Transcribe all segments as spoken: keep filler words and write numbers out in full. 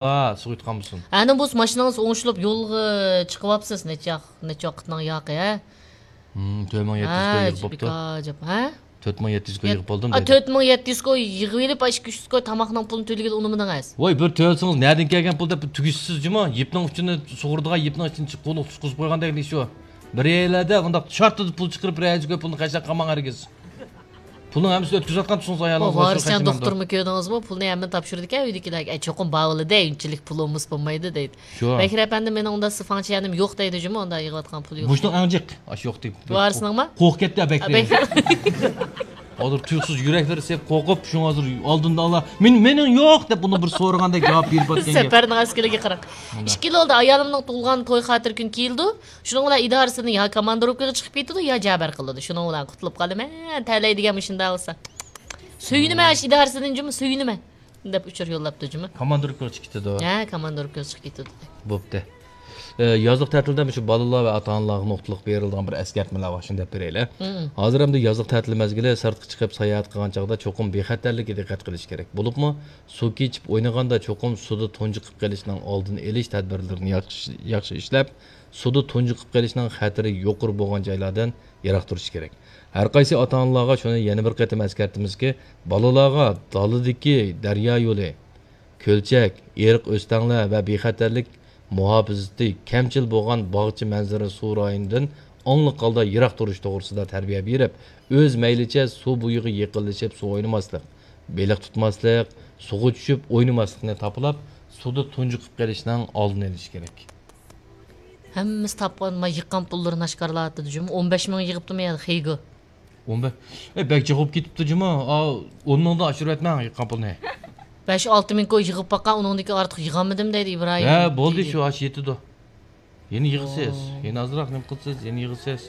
ھا، سۇغا يۇتقان بولسۇن. ئەنە بولسا ماشىنىڭىز ئوڭشىلىپ يولغا چىقىۋاپسىز. نەچچە، نەچچە ۋاقىتنىڭ ياقى، ھە؟ ھىم، تۆت مىڭ يەتتە يۈز كوي يىغىپ بوپتۇ. بىكار جاپ، ھە؟ تۆت مىڭ يەتتە يۈز كوي يىغىپ بولدۇم دەيدۇ. تۆت مىڭ يەتتە يۈز كوي يىغىۋېلىپ، ئىككى يۈز كوي تاماقنىڭ پۇلىنى تۆلىگىلى ئۇنىمىدىڭىز. ۋاي، بىر تۆلىسىڭىز، نەدىن كەلگەن پۇل دەپ تۈگۈشسىز جۇمۇ. يىپنىڭ ئۇچىنى سۇغۇرىدىغان يىپنىڭ ئىچىنى قۇلۇق تۇتقۇزۇپ قويغاندەك ئىش ئۇ. بىر يەرلەردە بۇنداق شارتىدا پۇل چىقىرىپ، بىر يەرگە كوي پۇلنى خەجلەپ قالماڭ ھەرگىز. پۇلنى ھەممىسىنى ئۆتكۈزۈۋاتقان تۇرسىڭىز ئايالىڭىز. ۋارىسجان دوختۇرمۇ كۆردىڭىزمۇ؟ پۇلنى ھەممىنى تاپشۇرىدىكەن ئۆيدىكىلەرگە. ئەي، چوقۇم باۋىلىدە، ئۇنچىلىك پۇل بولمىسا بولمايدۇ دەيدۇ. شۇ. بەكرى ئەپەندى، مېنىڭ ئۇنداق سىفاڭچىيەنىم يوق دەيدۇ جۇمۇ، ئۇنداق يىغىۋاتقان پۇل يوق. مۇشۇنىڭ ئەڭ جىق ئاشۇ يوق دەيدۇ. ۋارىسنىڭما؟ قورقۇپ كەتتى بەكرى. بەكرى. ھازىر تۇيۇقسىز يۈرەكلىرى سېلىپ قورقۇپ، شۇڭا ھازىر ئالدىمدا ئاللا، مېنىڭ، مېنىڭ يوق دەپ ئۇنى بىر سورىغاندەك جاۋاب بېرىپ ئاتكەن گەپ. سەپەرنىڭ ئەسكىلىگە قاراڭ. مۇنداق. ئىككى يىل بولدى ئايالىمنىڭ تۇغۇلغان توي خاتىرە كۈنى كېلىدۇ. شۇنىڭ بىلەن ئىدارىسىدىن يا كاماندىروپكىغا چىقىپ كېتىدۇ، يا جەبىر قىلىدۇ. شۇنىڭ بىلەن قۇتۇلۇپ قالىمەن. تەلەيدىگەن مۇشۇنداق بولسا. سۆيۈنىمەن، ئىدارىسىدىن جۇمۇ سۆيۈنىمەن دەپ ئۇچۇر يوللاپتۇ جۇمۇ. كاماندىروپكىغا چىقىپ كېتىدۇ. ھە، كاماندىروپكىغا چىقىپ كېتىدۇ. بوپتۇ. ئە، يازلىق تەتىلدە مۇشۇ بالىلار ۋە ئاتا-ئانىلارغا نۇقتىلىق بېرىلىدىغان بىر ئەسكەرتمىلەر بار، شۇنى دەپ بېرەيلى. مم. ھازىر ئەمدى يازلىق تەتىل مەزگىلى، سىرتقا چىقىپ ساياھەت قىلغان چاغدا چوقۇم بىخەتەرلىككە دىققەت قىلىش كېرەك. بولۇپمۇ سۇ كېچىپ ئوينىغاندا چوقۇم سۇدا تۇنجۇقۇپ قېلىشنىڭ ئالدىنى ئېلىش تەدبىرلىرىنى ياخشى، ياخشى ئىشلەپ، سۇدا تۇنجۇقۇپ قېلىشنىڭ خەتىرى يۇقىرى بولغان جايلاردىن يىراق تۇرۇش كېرەك. ھەر قايسى ئاتا-ئانىلارغا شۇنى يەنە بىر قېتىم ئەسكەرتىمىزكى، بالىلارغا دالىدىكى دەريا يولى، كۆلچەك، ئېرىق ئۆستەڭلەر ۋە بىخەتەرلىك مۇھاپىزىتى كەمچىل بولغان باغچە مەنزىرە سۇ رايونىدىن ئاڭلىق ھالدا يىراق تۇرۇش توغرىسىدا تەربىيە بېرىپ، ئۆز مەيلىچە سۇ بويىغا يېقىنلىشىپ سۇ ئوينىماسلىق، بېلىق تۇتماسلىق، سۇغا چۈشۈپ ئوينىماسلىقنى تاپىلاپ، سۇدا تۇنجۇقۇپ قېلىشنىڭ ئالدىنى ئېلىش كېرەك. ھەممىسى تاپقان، ما، يىغقان پۇللىرىنى ئاشكارىلاۋاتىدۇ جۇمۇ. ئون بەش مىڭ يىغىپتىمۇ يا خېيگو؟ ئون بەش. ئەي، بەك جىق بولۇپ كېتىپتۇ جۇمۇ. ئا، ئون مىڭدىن ئاشۇرۇۋەتمەڭ يىغقان پۇلنى. بەش ئالتە مىڭ كوي يىغىپ باققان، ئۇنىڭدىكى ئارتۇق يىغالمىدىم دەيدۇ ئىبراھىم. ھە، بولدى، شۇ ئاشۇ يېتىدۇ. يەنە يىغىسىز. يەنە ئازراق نېمە قىلىسىز، يەنە يىغىسىز.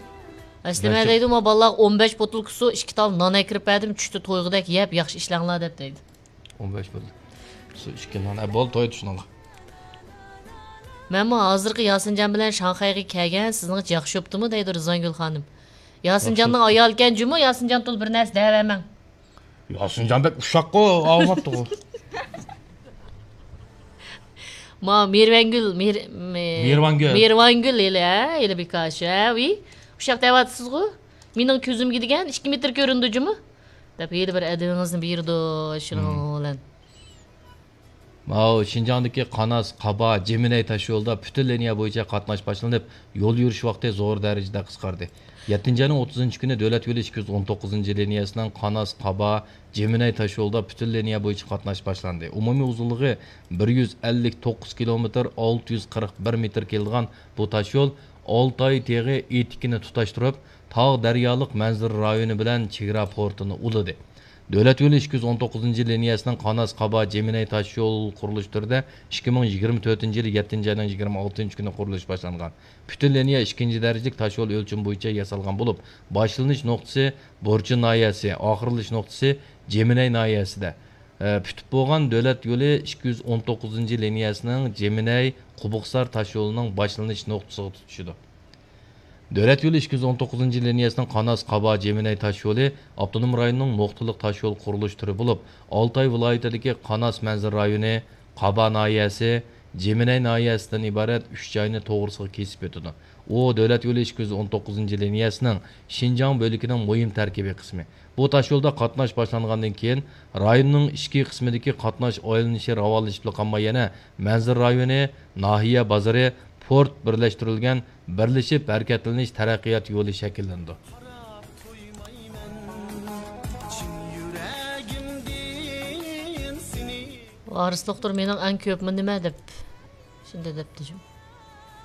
ئەسلى مەن دەيدۇ، ما بالىلارغا ئون بەش بوتۇلكا سۇ، ئىككى تال نان ئەكىرىپ بەردىم، چۈشتە تويغۇدەك يەپ، ياخشى ئىشلەڭلار دەپ دەيدۇ. ئون بەش بولدى. سۇ ئىككى نان. ھە، بولدى، تويدى شۇنىڭغا. مەنمۇ ھازىرقى ياسىنجان بىلەن شاڭخەيگە كەلگەن، سىزنىڭچە ياخشى بوپتۇمۇ دەيدۇ رىزۋانگۈل خانىم. ياسىنجاننىڭ ئايالى ئىكەن جۇمۇ، ياسىنجان تول بىر نەرسە دەۋەرمەڭ. ياسىنجان بەك ئۇششاققۇ، ئاڭلىماپتىغۇ. ما مېھرىۋانگۈل، مېھر-، مې-، مېھرىۋانگۈل. مېھرىۋانگۈل ھېلى، ھە، ھېلى بىكاش، ھە، ۋى. ئۇششاق دەۋاتىسىزغۇ؟ مېنىڭ كۆزۈمگە دېگەن ئىككى مېتىر كۆرۈندى جۇمۇ. دەپ ھېلى بىر ئەدىپىڭىزنى بېرىدۇ، شۇنىڭ بىلەن. ماۋۇ شىنجاڭدىكى قاناس، قابا، جېمىنەي تاشيولىدا پۈتۈن لىنىيە بويىچە قاتناش باشلىنىپ، يول يۈرۈش ۋاقتى زور دەرىجىدە قىسقاردى. يەتتىنچى ئاينىڭ ئوتتۇزىنچى كۈنى دۆلەت يولى ئىككى يۈز ئون توققۇزىنچى لىنىيەسىنىڭ قاناس، قابا، جېمىنەي تاشيولىدا پۈتۈن لىنىيە بويىچە قاتناش باشلاندى. ئومۇمىي ئۇزۇنلۇقى بىر يۈز ئەللىك توققۇز كىلومېتىر، ئالتە يۈز قىرىق بىر مېتىر كېلىدىغان بۇ تاشيول ئالتاي تېغى ئېتىكىنى تۇتاشتۇرۇپ، تاغ دەريالىق مەنزىرە رايونى بىلەن چېگرا پورتىنى ئۇلىدى. دۆلەت يولى ئىككى يۈز ئون توققۇزىنچى لىنىيەسىنىڭ قاناس، قابا، جېمىنەي تاشيول قۇرۇلۇش تۈرىدە ئىككى مىڭ يىگىرمە تۆتىنچى يىلى يەتتىنچى ئاينىڭ يىگىرمە ئالتىنچى كۈنى قۇرۇلۇش باشلانغان. پۈتۈن لىنىيە ئىككىنچى دەرىجىلىك تاشيول ئۆلچىمى بويىچە ياسالغان بولۇپ، باشلىنىش نۇقتىسى بورچى ناھىيەسى، ئاخىرلىشىش نۇقتىسى جېمىنەي ناھىيەسىدە. ئە، پۈتۈپ بولغان دۆلەت يولى ئىككى يۈز ئون توققۇزىنچى لىنىيەسىنىڭ جېمىنەي، قوبۇقسار تاشيولىنىڭ باشلىنىش نۇقتىسىغا تۇتىشىدۇ. دۆلەت يولى ئىككى يۈز ئون توققۇزىنچى لىنىيەسىنىڭ قاناس، قابا، جېمىنەي تاشيولى ئاپتونوم رايوننىڭ نۇقتىلىق تاشيول قۇرۇلۇش تۈرى بولۇپ، ئالتاي ۋىلايىتىدىكى قاناس مەنزىرە رايونى، قابا ناھىيەسى، جېمىنەي ناھىيەسىدىن ئىبارەت ئۈچ جاينى توغرىسىغا كېسىپ ئۆتىدۇ. ئۇ دۆلەت يولى ئىككى يۈز ئون توققۇزىنچى لىنىيەسىنىڭ شىنجاڭ بۆلىكىنىڭ مۇھىم تەركىبىي قىسمى. بۇ تاشيولدا قاتناش باشلانغاندىن كېيىن، رايوننىىڭ ئىچكى قىسمىدىكى قاتناش ئايلىنىشى راۋانلىشىپلا قالماي، يەنە مەنزىرە رايونى، ناھىيە بازىرى، پورت بىرلەشتۈرۈلگەن بىرلىشىپ ھەرىكەتلىنىش تەرەققىيات يولى شەكىللىنىدۇ. ۋارىس دوختۇر مېنىڭ ئەڭ كۆپمۇ نېمە دەپ شۇنداق دەپتۇ.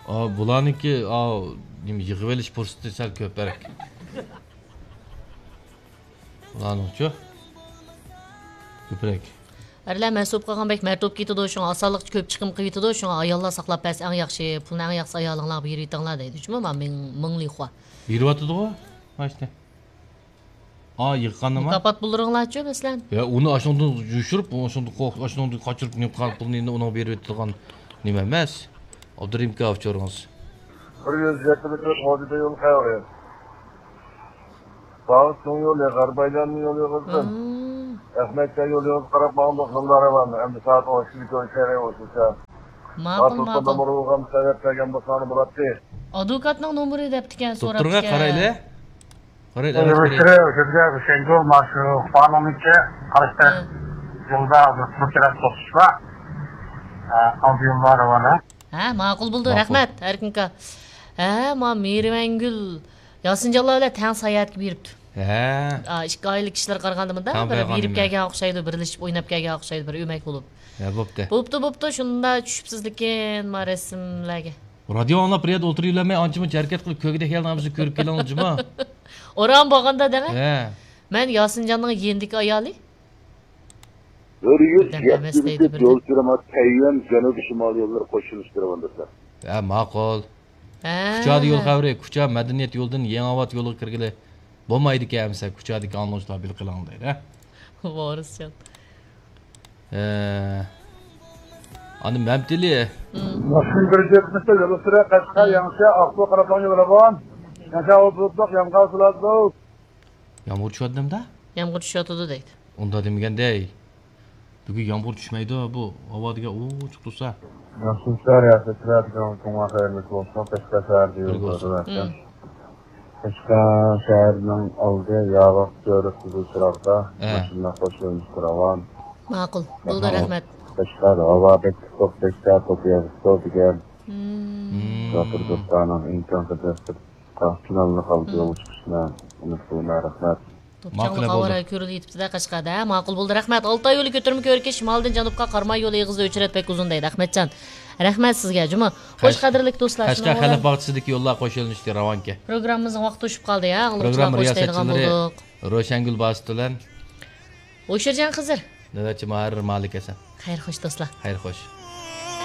ئا، بۇلارنىڭكى، ئا، نېمە، يىغىۋېلىش پۇرسىتى سەل كۆپرەك. ئۇلارنىڭچۇ؟ كۆپرەك. ئەرلەر مەسئۇل قىلغان بەك مەرد بولۇپ كېتىدۇ، شۇڭا ئاسانلىقچە كۆپ چىقىم قىلىۋېتىدۇ، شۇڭا ئاياللار ساقلاپ بەرسە ئەڭ ياخشى، پۇلنى ئەڭ ياخشى ئايالىڭلارغا بېرىۋېتىڭلار دەيدۇ، شۇمۇ، ما مىڭ، مىڭلىخۇا. بېرىۋاتىدىغۇ، ماشىنى. ئا، يىغقاندىمۇ؟ مۇكاپات پۇللىرىڭلارچۇ، مەسىلەن؟ يا، ئۇنى ئاشۇندىن يوشۇرۇپ، ئاشۇندىن قوق-، ئاشۇندىن قاچۇرۇپ، نېمە قىلغان پۇلنى ئەمدى ئۇنىڭغا بېرىۋېتىدىغان نېمە ئەمەس. ئابدۇرېھىم ئاكا، ئۇچۇرىڭىز. بىر يۈز يەتتە مېتىر قوزىدە يول قەۋرى. باغۇ چوڭ يولى، غەربىي ئايلانما يولى قىزدىن. مم. رەھمەت، يولىڭىزغا قاراپ ماڭدۇق، يوللار راۋان. ئەمدى سائەت ئون ئىككىگە كۆرۈشەيلى، ئوشۇنچە. ماقۇل، ماقۇل. نومۇرغا سەۋەب بەرگەن بولساڭ بولاتتى. ئادۋوكاتنىڭ نومۇرى دەپتىكەن، سوراپتىكەن. دوختۇرغا قارايلى. قارايلى، ئەۋەت قارايلى. ئۆزىگە، ئۆزىگە، شەڭگۈل، ماشۇ قانۇننىڭكى قارشى تەرەپ ھە. يولدا بىر تەرەپ توختىشىش بار. ھە، ئالدى يوللار راۋان. ھە، ماقۇل بولدى، ماقۇل. رەھمەت، ئەركىنكا. ھە، ما مېھرىۋەنگۈل ياسىنجانلار بىلەن تەڭ ساياھەتكە بېرىپتۇ. ھە. ئا، ئىككى ئائىلىلىك كىشىلەر قارىغاندا مۇنداق تەڭ بىر بېرىپ بېرىپ كەلگەن ئوخشايدۇ، بىرلىشىپ ئويناپ كەلگەن ئوخشايدۇ، بىر ئۆمەك بولۇپ. ھە، بوپتۇ. بوپتۇ، بوپتۇ، شۇنداق چۈشۈپسىز لېكىن ما رەسىملەرگە. رادىيو ئاڭلاپ بىر يەردە ئولتۇرۇۋېرەلمەي، ئانچە-مۇنچە ھەرىكەت قىلىپ، كۆرگۈدەك ھېلىنى ھەممىسىنى كۆرۈپ كېلىڭ جۇمۇ. ئورام بولغاندا دەڭە. ھە. مەن ياسىنجاننىڭ يېنىدىكى ئايالى. بىر يۈز يەتتە يول سۈرۈمى تەييۈەن جەنۇبىي شىمال يوللىرى قوشۇلۇشى راۋان دوستلار. ھە، ماقۇل. ھە. كۇچادا يول خەۋىرى، كۇچا مەدەنىيەت يولىدىن يېڭىئاۋات يولىغا كىرگىلى بولمايدىكەن ئەمىسە، كۇچادىكى ئاڭلىغۇچىلار بىلىپ قېلىڭ دەيدۇ، ھە. ۋارىسجان. ھە. ئاندىن مەمتىلى. ماشىنا بىر يۈز يەتمىشتە يول ئۈستىدە قەشقەر، يېڭىچە، ئاقسۇ، قاراتاڭ يولى بار. يېڭىچە ئاۋۇ بۇلۇتلۇق، يامغۇر سۇلاتلۇق. يامغۇر چۈشۈۋاتىدۇ نېمىدا؟ يامغۇر چۈشۈۋاتىدۇ دەيدۇ. ئۇنداق دېمىگەندەي. بۈگۈن يامغۇر چۈشمەيدۇ، بۇ ھاۋا دېگەن ئوچۇق تۇرسا. ياخشى ئىشلار، ياخشى ئىشلار دېگەن كۆڭۈل خەيرلىك بولسۇن، قەشقەر شەھەردە يول بولسۇن. قەشقەر شەھىرىنىڭ ئالدى ياۋاق كۆۋرۈك قىزىل چىراغدا ھە. ماشىنىلار قوشۇلۇشقا راۋان. ماقۇل، بولدى، رەھمەت. قەشقەر ھاۋا بەك ئىسسىق، بەك سەت، توپا يېغىشتۇ دېگەن. مم. مم. شوپۇر دوستلارنىڭ ئىمكان قەدەر پىلانلىق ھالدا يولغا چىقىشنى ئۈمىد قىلىمەن. رەھمەت. توپچاڭلىق ھاۋا رايى كۆرۈلۈپ يېتىپتۇ-دە قەشقەردە، ھە؟ ماقۇل بولدى، رەھمەت. ئالتاي يولى كۆتۈرمە كۆۋرۈكى شىمالدىن جەنۇبقا قاراماي يولى ئېغىزى ئۆچرەت بەك ئۇزۇن دەيدۇ، ئەخمەتجان. رەھمەت سىزگە، جۇمۇ. خوش، قەش-، قەدىرلىك دوستلار، قەشقەر شۇنىڭ خەلق بىلەن باغچىسىدىكى يوللار قوشۇلۇشتى راۋانكى. پروگراممىمىزنىڭ ۋاقتى توشۇپ قالدى، ھە؟ ئاڭلىغۇچىلارغا خوش دەيدىغان بولدۇق. روشەنگۈل باسىت بىلەن ئوشۇرجان خىزىر. نۆۋەتچى ماھىر مالىك ھەسەن. خەير خوش دوستلار. خەير خوش.